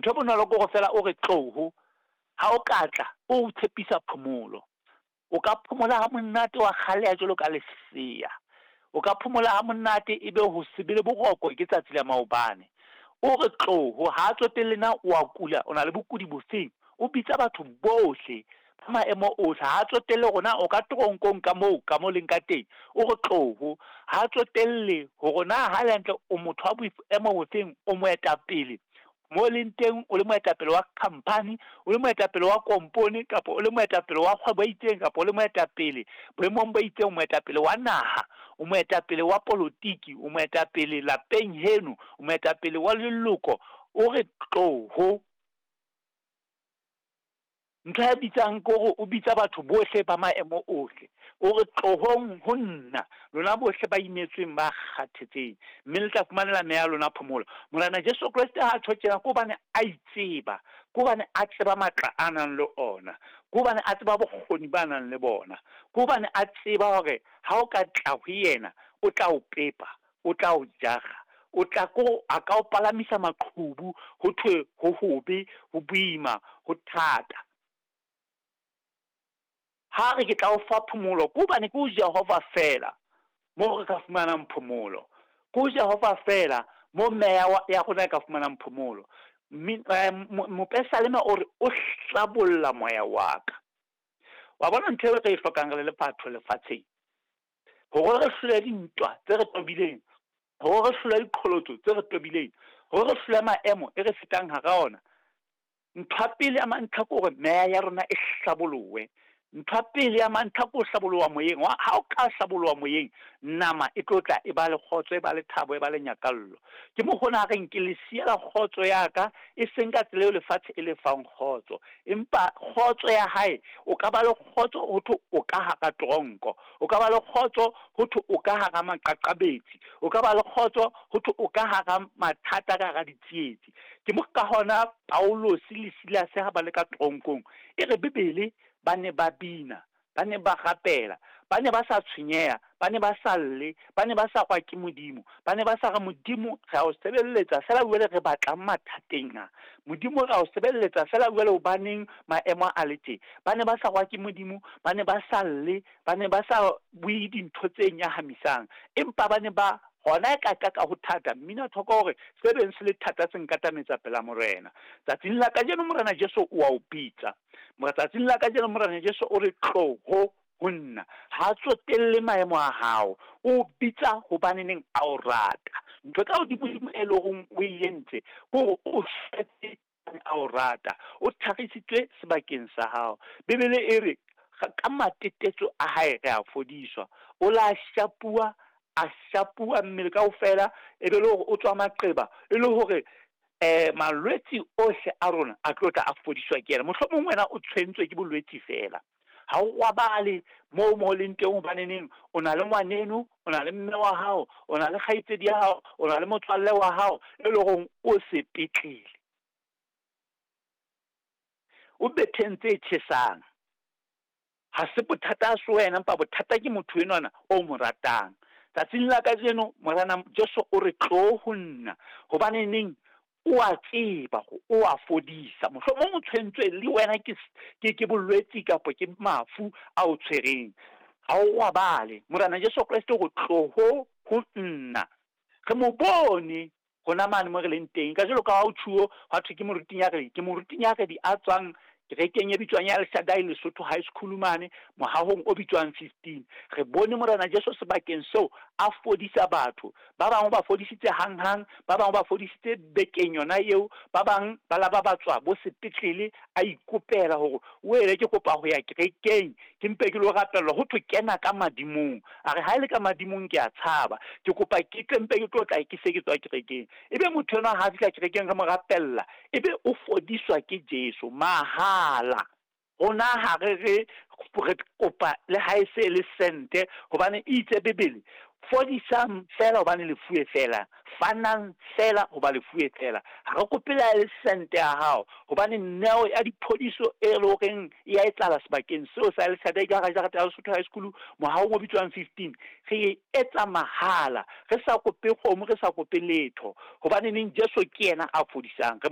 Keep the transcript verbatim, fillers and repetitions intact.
Ntho e bonolo ke hore feela o re tloho. Ha o ka tla, o tshepisa phomolo. O ka phomola ha monate wa kgaleha jwalo ka lesea. O ka phomola ha monate ebe ho se be le boroko ke tsatsi la maobane. O re tloho, ha tsotelle na o a kula, o na le bokudi bofeng. O bitsa batho bohle ba maemo ohle, ha tsotelle hore na o ka toronkong ka moo ka mo leng ka teng. O re tloho, ha tsotelle hore na ha le hantle o motho wa boemo bofeng, o moetapele mo leng teng, o le moetapele wa company, o le moetapele wa kompone, kapa o le moetapele wa kgwebo e itseng, kapa o le moetapele boemong bo itseng, o moetapele wa naha, o moetapele wa polotiki, o moetapele lapeng heno, o moetapele wa leloko. O re tloho. Ntho ya bitsang ke hore o bitsa batho bohle ba maemo ohle. O re tlohong ho nna, lona bohle ba imetsweng, ba kgathetseng, mme le tla fumanela meya ya lona phomolo. Morena Jesu Kreste ha tjho tjena ke hobane a itseba, ke hobane a tseba matla a nang le ona, ke hobane a tseba bokgoni ba nang le bona, ke hobane a tseba hore ha o ka tla ho yena, o tla o pepa, o tla o jara, o tla ko a ka o palamisa maqhubu, ho thwe ho hobe, ho boima, ho thata. Ha re ke tla o fa phomolo, ke hobane ke ho Jehova feela moo re ka fumanang phomolo. Ke ho Jehova feela moo meya ya rona e ka fumanang phomolo. Mopesaleme o re o hlabolla moya wa ka. Wa bona ntho eo re e hlokang re le batho lefatsheng, hore re hlole dintwa tse re tobileng, hore re hlole diqholotso tse re tobileng, hore re hlole maemo e re fetang hara ona. Ntho ya pele ya mantlha ke hore meya ya rona e hlabolohe. Ntho ya pele ya mantlha ke ho hlaboloha moyeng. Ha o ka hlaboloha moyeng, nama e tlo tla e ba le kgotso, e ba le thabo, e ba le nyakallo. Ke mo hona reng ke le siela kgotso ya ka, e seng ka tsela eo lefatshe e le fang kgotso, empa kgotso ya hae, o ka ba le kgotso ho thwe o ka hara tronko, o ka ba le kgotso ho thwe o ka hara maqaqabetsi, o ka ba le kgotso ho thwe o ka hara mathata, ka hara ditsietsi. Ke mo ka hona Paulus le Silas ha ba le ka tronkong, e re Bibele ba ne ba bina, ba ne ba rapela, ba ne ba sa tshwenyeha, ba ne ba sa lle, ba ne ba sa kwa ke Modimo, ba ne ba sa re Modimo re a o sebeletsa fela jwale re batlang mathateng a. Modimo re a o sebeletsa fela jwale hobaneng maemo a le tje. Ba ne ba sa kwa ke Modimo, ba ne ba sa lle, ba ne ba sa bue dintho tse nyahamisang, empa ba ne ba hona e ka ka ho thata. Mmina thoko hore se beng se le thata se nkatametsa pela Morena. Tsatsing la kajeno Morena Jesu o a o bitsa. Tsatsing la kajeno Morena Jesu o re tloho ho nna. Ha tsotelle maemo a hao, o bitsa hobane neng a o rata. Ntho tsa hodimo e leng hore o e entse ke hore o shwetse a o rata, o tharisitswe sebakeng sa hao. Bibele e re ka matetetso a hae re a fodiswa. O la shapuwa, a shapuwa mmele kaofela, e be le hore o tswa maqeba, e le hore eh malwetse ohle a rona a tlo tla a fodiswa ke yena. Mohlomong wena o tshwentswe ke bolwetse fela, ha o robale moo mo leng teng, hobane neng o na le ngwaneno, o na le mme wa hao, o na le kgaitsedi ya hao, o na le motswalle wa hao e le hore o sepetlele, o betheng tse tjhesang. Ha se bothata se wena, empa bothata ke motho enwana o mo ratang. Tsatsing la kajeno Morena Jesu o re tlo ho nna, hobane neng o a tseba o a fodisa. Mohlomong o tshwentswe le wena ke ke ke bolwetsi kapa ke mafu a o tshwereng, ha o robale. Morena Jesu Kreste o re tloho ho nna. Re mo bone hona mane mo re leng teng. Ka jwalo ka ha o tjhuo hwa thwe ke moruti Nyaredi, ke moruti Nyaredi a tswang kerekeng e bitswang ya El Shaddai Lesotho High School mane mohahong o bitswang fifteen. Re bone Morena Jesu sebakeng seo a fodisa batho. Ba bang ba fodisitse hanghang, ba bang ba fodisitse bekeng yona eo, ba bang ba la ba ba tswa bo sepetlele a ikopela hore o ele ke kopa ho ya kerekeng, ke mpe ke lo rapellwa. Ho thwe kena ka madimong. A re ha ele ka madimong ke a tshaba, ke kopa ke tle mpe ke tlo tla ke se ke tswa kerekeng. Ebe motho enwa ha fihla kerekeng re mo rapella, ebe o fodiswa ke Jesu mahala. Rona ha re re re kopa le ha e se le sente, hobane e itse Bibele, fodisang fela hobane le fuwe fela, fanang fela hoba le fuwe fela. Ha re kope le ha e le sente ya hao, hobane neo ya diphodiso e le horeng e a etsahala sebakeng seo sa El Shaddai ka hara jarete ya Lesotho High School mohahong o bitswang fifteen. Re e etsa mahala, re sa kope kgomo, re sa kope letho, hobane neng Jesu ke yena a fodisang. Re